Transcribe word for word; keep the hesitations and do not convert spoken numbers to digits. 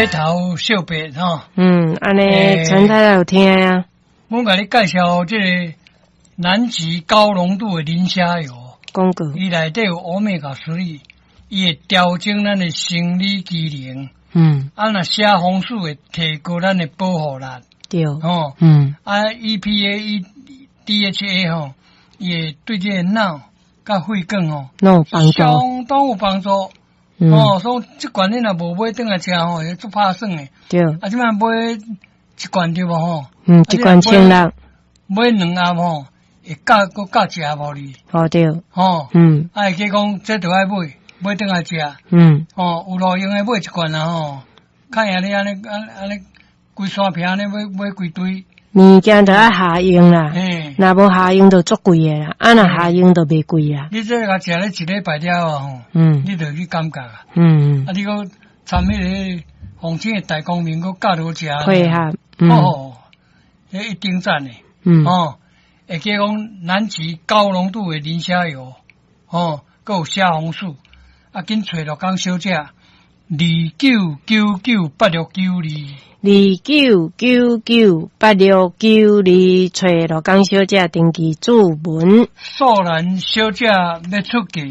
白頭小白吼。嗯，按呢陳太太有聽啊。阮共你介紹這個南極高濃度的磷蝦油，廣告。伊內底有 Omega three，伊會調整咱的生理機能。嗯。啊，若蝦紅素會提高咱的保護力。對。吼。嗯。啊，E P A、E D H A 吼，伊會對這個腦佮血管吼，攏有幫助。相當有幫助。嗯。哦，所以這罐你若無買轉來食吼，會足拍算的。對。啊，這擺買一罐對無吼？嗯，一罐千六。買兩盒吼，會加閣加一盒予你。哦對。吼。嗯。啊，會記講這著愛買，買轉來食。嗯。吼，有路用的買一罐啊吼，較贏你按呢按按呢規山坪按呢買買規堆。物件著愛合用啦，嘿。若無合用就足貴的啦，啊若合用就袂貴啊。你這個食咧一禮拜了後吼，嗯，你就去感覺啊。嗯。啊，你閣參彼個鳳青的大光明閣佮落食。配合。嗯。哦，彼一定讚的。嗯。哦，會記講南極高濃度的磷蝦油，哦，閣有蝦紅素，啊，緊揣鹿港小姐，二九九九八六九二。二九九九八六九二，揣鹿港小姐登記注文。素蘭小姐欲出嫁。